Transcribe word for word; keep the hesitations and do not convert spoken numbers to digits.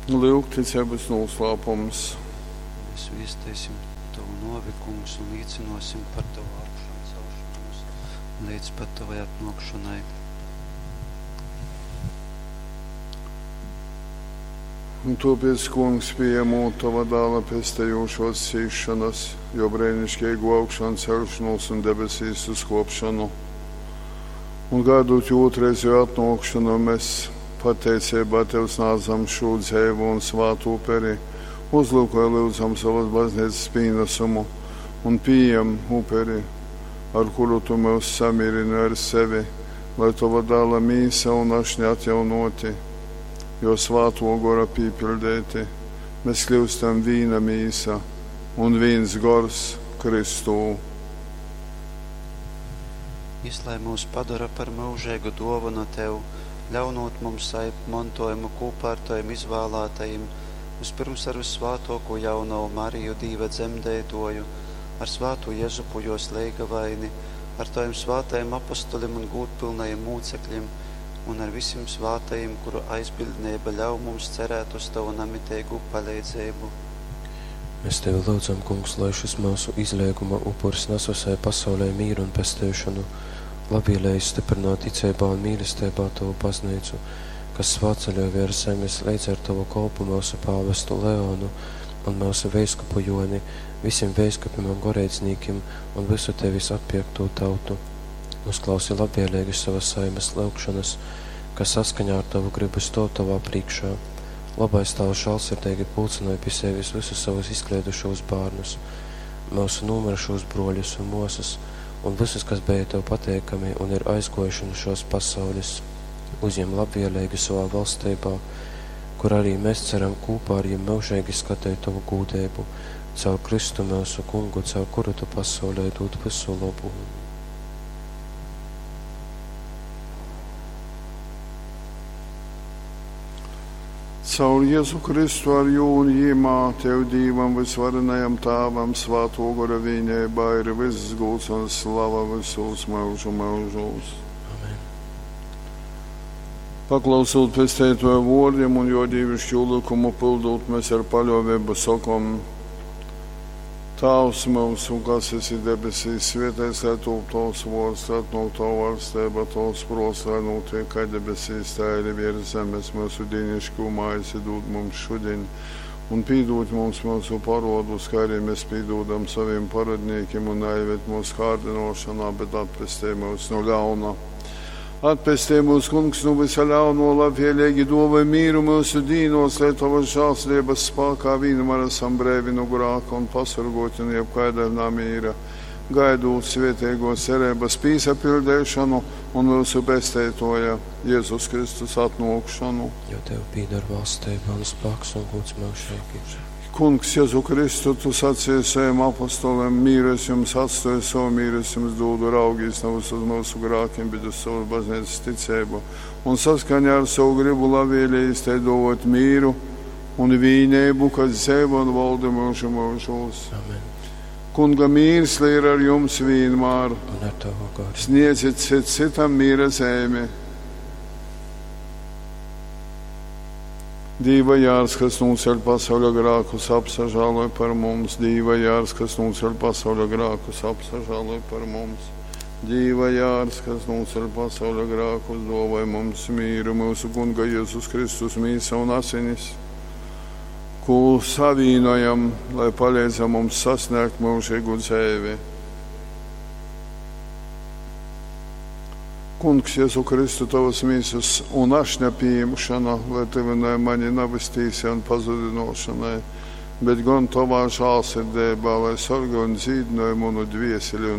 Lyuk, ticeibys nūslāpums. Mēs viesteisim tovu nuovi, Kungs, un līcynuosim par tovu augšancelšonūs leidz pat tovai atnuokšonai. Un tuopiec, Kungs, pījamūt tova dāla pestejūšuos cīsšonys, juo breiniškeigū augšanceļšonūs un debesīs uzkuopšonu, un gaidūt juo ūtrreizeju atnuokšonu, mes pateiceibā tev snādzam šū dzeivu un svātu uperi. Uzlyukoj, lyudzam, sovys bazneicys pīnasumu un pījem uperi, ar kuru tu myus samīrynoj ar sevi, lai tova dāla mīsa un ašņa atjaunuoti, juo svātuo gora pīpiļdeiti, mes kļiustam vīna mīsa un vīns gors Kristū. Jis lai myus padora par myužeigu duovonu tev, ļaunūt mums sajimt montuojumu kūpā ar tovim izvālātajim, vyspyrms ar vyssvātuokū Jaunovu Mariju, Dīva dzemdeituoju, ar svātū Jezupu, juos leigavaini, ar tovim svātajim apostolim un gūdpylnajim mūceklim un ar vysim svātajim, kuru aizbiļdneiba ļauj mums cerēt uz tovu namiteigū paleidzeibu. Mēs tevi lyudzam, Kungs, lai šys myusu izleiguma upurs nas vysai pasaulei mīru un pesteišonu. Labvieleigi styprynoj ticeibā un mīlesteibā tovu bazneicu, kas svātceļoj vērs zemes leidz ar tovu kolpu myusu pāvestu Leonu un myusu veiskupu Juoni, vysim veiskupim un goreidznīkim un vysu tevis atpierktū tautu. Uzklausi labvieleigi sovas saimes lyugšonys, kas saskaņā ar tovu grybu stuov tovā prīškā. Lobais Tāvs, žālsirdeigi pulcynoj pi sevis vysus savus izkleidušūs bārnus, myusu nūmyrušūs bruoļus un muosys un vysus, kas beja tev pateikami un ir aizguojuši nu šuos pasaulis. Uzjem labvieleigi sovā valsteibā, kur arī mēs ceram kūpā ar jim myužeigi skateit tovu gūdeibu, caur Kristu myusu Kungu, caur kuru tu pasaulei dūd vysu lobu. Caur Jezu Kristu ar jū un jimā tev Dīvam vysvarenajam Tāvam svātuo gora vīneibā ir vyss gūds un slava vysūs myužu myužūs. Amen. Paklausūt Pesteituoja vuordim un juo dīviškū lykumu pyldūt, mes ar paļuoveibu sokom: Tāvs myusu, kas esi debesīs, svieteits lai tūp tovs vuords, lai atnuok tova vaļsteiba, tovs pruots, lai nūtiek kai debesīs, tai arī viers zemes. Myusu dīniškū maizi dūd mums šudiņ, un pīdūd mums myusu paruodus, kai arī mēs pīdūdam sovim parodnīkim, un naieved mūsu kārdinošanā, bet atpestej mūs no ļauna. Atpestej mūs, Kungs, no visa ļauno, labvēlīgi dāvāj mīru mūsu dīnos, lai tavas žēlsirdības spākā vienmēr esam breivi no grāka un pasargoti no jebkaida namīra, gaidot svētīgo cerības pīsapildīšanu un mūsu pesteitoja Jēzus Kristus atnākšanu. Jo tev pīdar valstība un spēks un gods mūžīgi. Kungs, Jēzu Kristu, tu sacīji saviem apostoliem, mīru es jums atstāju, savu mīru es jums dodu, raugīs nevis uz mūsu grākiem, bet uz savu baznīcas ticību. Un saskaņā ar savu gribu labvēlīgi te dot mīru un vīnību, kas dzīvo un valda mūžu mūžos. Amen. Kunga mīrs lai ir ar jums vienmēr. Un ar tavu garu. Sniedziet cit citam mīra zīmi. Dīva jārs, kas nūceļ pasauļa grākus, apsažāloj par mums. Dīva jārs, kas nūceļ pasauļa grākus, apsažāloj par mums. Dīva jārs, kas nūceļ pasauļa grākus, dāvāj mums mīru, mūsu Kunga Jēzus Kristus mīsa un asinis, ko savīnojam, lai palīdzam mums sasniegt mūžīgu dzīvi. Kungs, Jēzu Kristu, tavas mīsas un ašņa pieņemšana, lai tevināja mani nevis tīsai un pazudinošanai, bet gan tavā žālsirdībā, lai sargā un dzīdināja manu dvieseli un